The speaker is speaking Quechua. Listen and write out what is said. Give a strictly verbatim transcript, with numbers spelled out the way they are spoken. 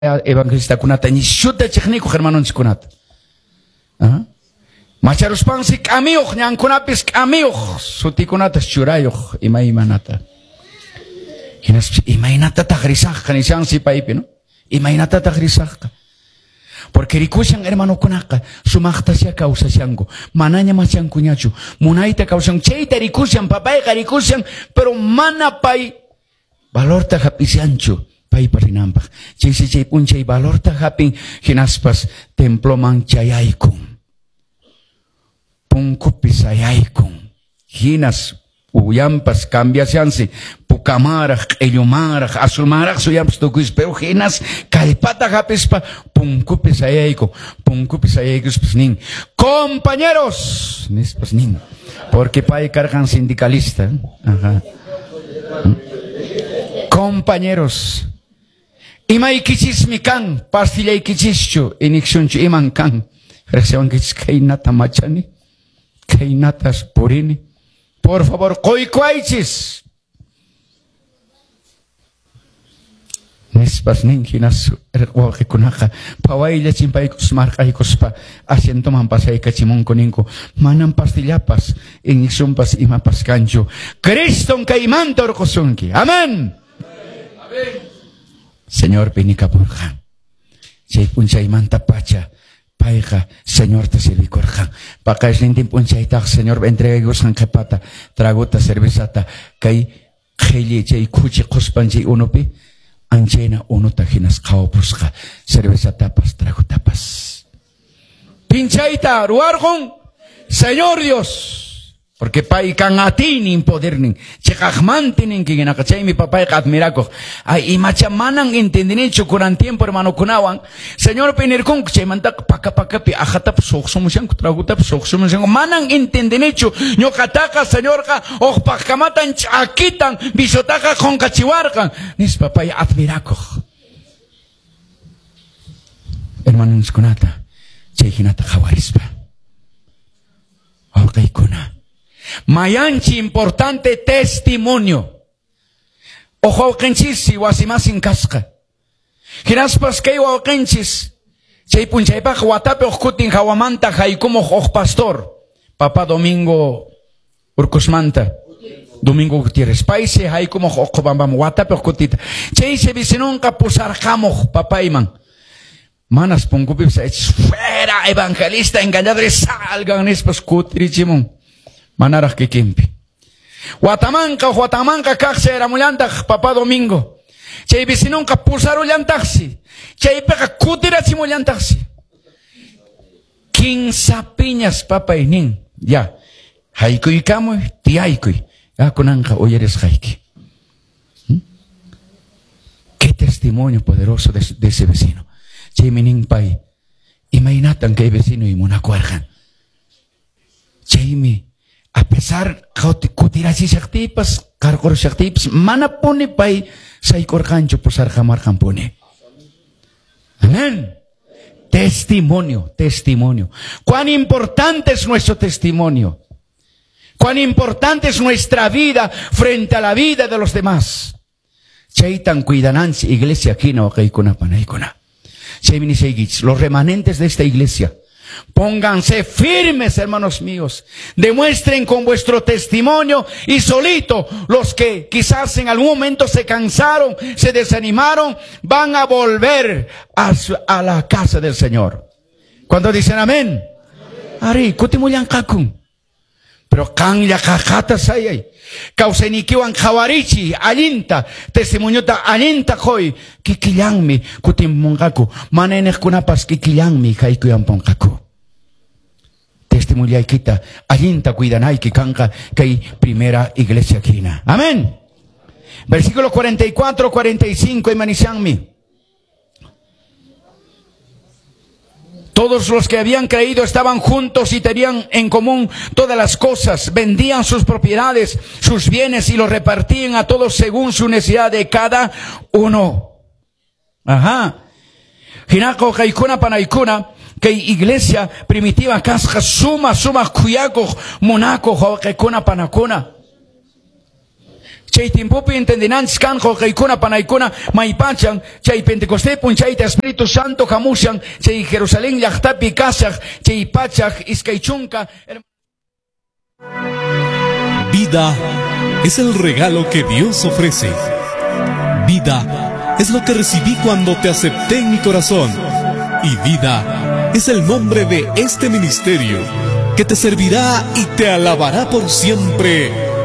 Evangelistakunata nishuta chiqnikuq hermanonchikkunata. Macharuspansi k'amiyuq ñankunapis k'amiyuq sutikunatas churayuq imaymanata. Hinaspa imaynatataq risaqqa nishansi paypi, no? Imaynatataq risaqqa. Porque rikushan hermanokunaqa sumaqtasya kawsashanku, manaña machankuñachu, munayta kawsan, chayta rikushan, papayqa rikushan, pero mana pay valorta hap'ishanchu paypa rinanpaq. Chaysi chay p'unchay valorta hap'in, hinaspas temploman chayaykun. Punkupi sayaykun. Hinas uyampas cambiashansi, pukamaraq, q'illumaraq, azulmaraq suyampas tukuysi, pero hinas kallpata hap'ispa punkupi sayaykun. Punkupi sayaykuspas nin, compañeros, nispas nin, porque pay karqan sindicalista. Ajá. Compañeros, imaykichismi kan, pastillaykichischu, inyeccionchu iman kan. Riqsiwankichis khaynata machani, khaynatas purini. Por favor, qoykuaychis. Nispas nin hinas wawqikunaqa phawaylla chimpaykus marqaykuspa asientoman pasaykachimunku ninku manam pastillapas inyeccionpas imapas kanchu. Criston kaymanta urqusunki. Amén. Señor pinikapurqan. Chay p'unchaymanta pacha payqa Señorta servikurqan. Paqarisnintin p'unchaytaq Señor entregaykusqan qhipata tragota cervezata kay qhilli chay khuchi quspan chay unupi anchayna unuta hinas qhawapusqa cervezatapas tragotapas. Pinchayta ruwarqun Señor Dios. Porque pay kan atiynin podernin chiqaqmanti ninki hinaqa chaymi papayqa admirakuq. Ay imacha manan entendinichu kunan tiempo hermanokunawan Señorpi nirkunku chaymantaqa paka pakapi ajatapas suqsumushanku tragotapas suqsumushanku manan entendinichu ñuqataqa Señorqa uqpaqkamatan ch'akitan bisotaqa qunqachiwarqan nispa pay admirakuq. Hermanoskunata chay hinata qhawarispa wawqiykuna. Mayanchi importante testimonio. Ojo wawqinchis wasimasin kasqa. Hinaspas kay wawqinchis chay p'unchaypaq watapi uqkutin hawamanta haykumuq uq pastor. Papá Domingo Urcusmanta. Domingo Gutiérrez. Paysi haykumuq uqbambam watapi uqkutita. Chaysi vecinonqa pusarqamuq papayman. Manas punkupipis fuera evangelista engañadores salgan nispas kutirichimun. Manaraq kikinpi. Watamanqa watamanqa kaqsi eramullantaq papá Domingo. Chay vecinonqa pusarullantaqsi. Chaypiqa kutirachimullantaqsi. Kinsa piñas papay nin. Ya. Haykuykamuy, tiyaykuy. Ya kunanqa uyarisqayki. ¿Mm? Qué testimonio poderoso de, de ese vecino. Chaymi nin pay. Imaynatan kay vecino imunakuarqan. Chaymi a pesar kutirachishaqtiypas, qarqurushaqtiypas, mana puni pay saykurqanchu pusarqamarqanpuni. Amén. Testimonio, testimonio. Cuán importante es nuestro testimonio. Cuán importante es nuestra vida frente a la vida de los demás. Chaytan cuidananchis iglesia hina waqaykuna panaykuna. Chaymi nisaykichis, los remanentes de esta iglesia, pónganse firmes, hermanos míos. Demuestren con vuestro testimonio y solito los que quizás en algún momento se cansaron, se desanimaron, van a volver a, su, a la casa del Señor. ¿Cuántos dicen amén? Ari, kutimullanqakun. Pero qanlla qaqata sayay. Kawsaynikiwan qhawarichi allinta testimoniota allinta qoy kikillanmi kutimmunqaku mana iniqkunapas kikillanmi haykuyampunqaku. Testimoniaykita allinta cuidanayki kanqa kay primera iglesia hina. Amén. Versículo cuarenta y cuatro, cuarenta y cinco imanishanmi. Todos los que habían creído estaban juntos y tenían en común todas las cosas. Vendían sus propiedades, sus bienes y los repartían a todos según su necesidad de cada uno. Ajá. Hinako kaykuna panaykuna kay iglesia primitiva kasqa suma suma kuyakuq munakuq wawqikuna panakuna. Chay tiempopi entendinanchis kan wawqiykuna panaykuna maypachan chay Pentecostés p'unchayta Espíritu Santo hamushan chay Jerusalén llaqtapi kashaq chay pachak iskay chunka. Vida es el regalo que Dios ofrece. Vida es lo que recibí cuando te acepté en mi corazón. Y vida es el nombre de este ministerio que te servirá y te alabará por siempre.